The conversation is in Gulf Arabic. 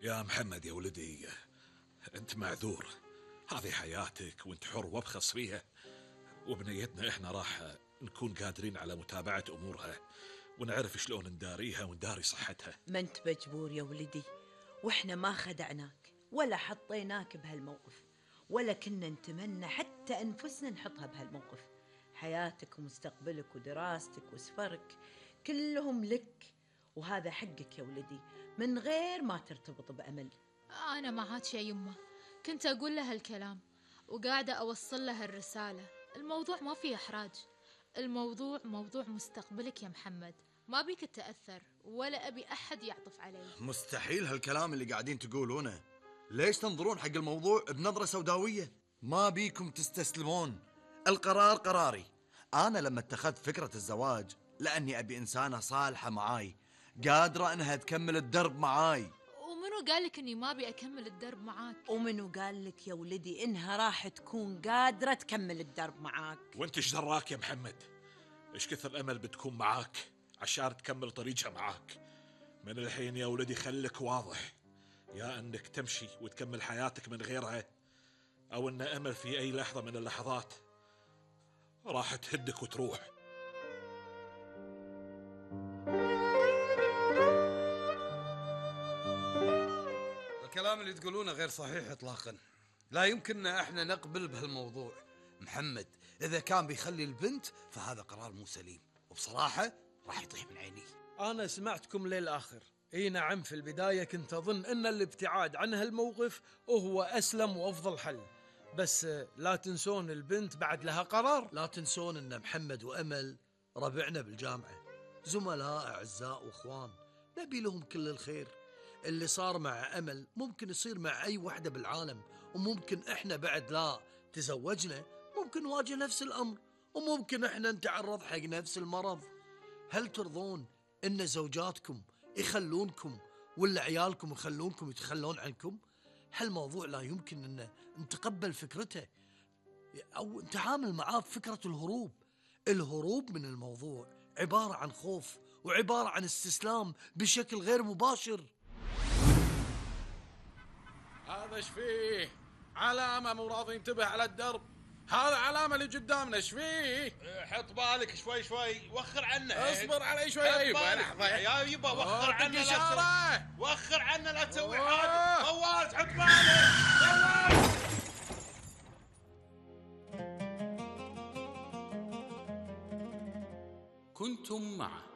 يا محمد يا ولدي، انت معذور، هذه حياتك وانت حر وابخص فيها، وبنيتنا احنا راح نكون قادرين على متابعة امورها ونعرف شلون نداريها ونداري صحتها. ما انت مجبور يا ولدي، واحنا ما خدعناك ولا حطيناك بهالموقف، ولا كنا نتمنى حتى انفسنا نحطها بهالموقف. حياتك ومستقبلك ودراستك وسفرك كلهم لك، وهذا حقك يا ولدي من غير ما ترتبط بأمل. أنا معاك يا يمه، كنت أقول لها الكلام وقاعدة أوصل لها الرسالة. الموضوع ما فيه إحراج، الموضوع موضوع مستقبلك يا محمد، ما بيك تتأثر ولا أبي أحد يعطف علي. مستحيل هالكلام اللي قاعدين تقولونه. ليش تنظرون حق الموضوع بنظرة سوداوية؟ ما بيكم تستسلمون، القرار قراري. أنا لما اتخذت فكرة الزواج لأني أبي إنسانة صالحة معاي، قادرة أنها تكمل الدرب معاي. ومنو قالك أني ما أبي أكمل الدرب معاك؟ ومنو قالك يا ولدي إنها راح تكون قادرة تكمل الدرب معاك؟ وانت ايش دراك يا محمد؟ ايش كثر امل بتكون معاك عشان تكمل طريقها معاك؟ من الحين يا ولدي خليك واضح، يا انك تمشي وتكمل حياتك من غيرها، او ان امل في اي لحظة من اللحظات راح تهدك وتروح. الكلام اللي تقولونه غير صحيح اطلاقا، لا يمكننا احنا نقبل بهالموضوع. محمد اذا كان بيخلي البنت فهذا قرار مو سليم، وبصراحة راح يطيح من عيني. انا سمعتكم للآخر. اي نعم، في البداية كنت اظن ان الابتعاد عن هالموقف هو اسلم وافضل حل، بس لا تنسون البنت بعد لها قرار. لا تنسون ان محمد وامل ربعنا بالجامعة، زملاء اعزاء واخوان، نبي لهم كل الخير. اللي صار مع امل ممكن يصير مع اي وحدة بالعالم، وممكن احنا بعد لا تزوجنا ممكن نواجه نفس الامر، وممكن احنا نتعرض حق نفس المرض. هل ترضون ان زوجاتكم يخلونكم ولا عيالكم يخلونكم يتخلون عنكم؟ هالموضوع لا يمكن ان نتقبل فكرته او نتعامل معاه بفكرة الهروب. الهروب من الموضوع عبارة عن خوف وعبارة عن استسلام بشكل غير مباشر. هذا ايش فيه؟ علامة مو راضي ينتبه على الدرب، هذا علامة اللي قدامنا ايش فيه؟ حط بالك شوي شوي، وخر عنه. اصبر علي شوي يا يبا، لحظة يا يبا، وخر عنه لا وخر عنه لا تسوي حاجة. فواز حط بالك، فواز. كنتم مع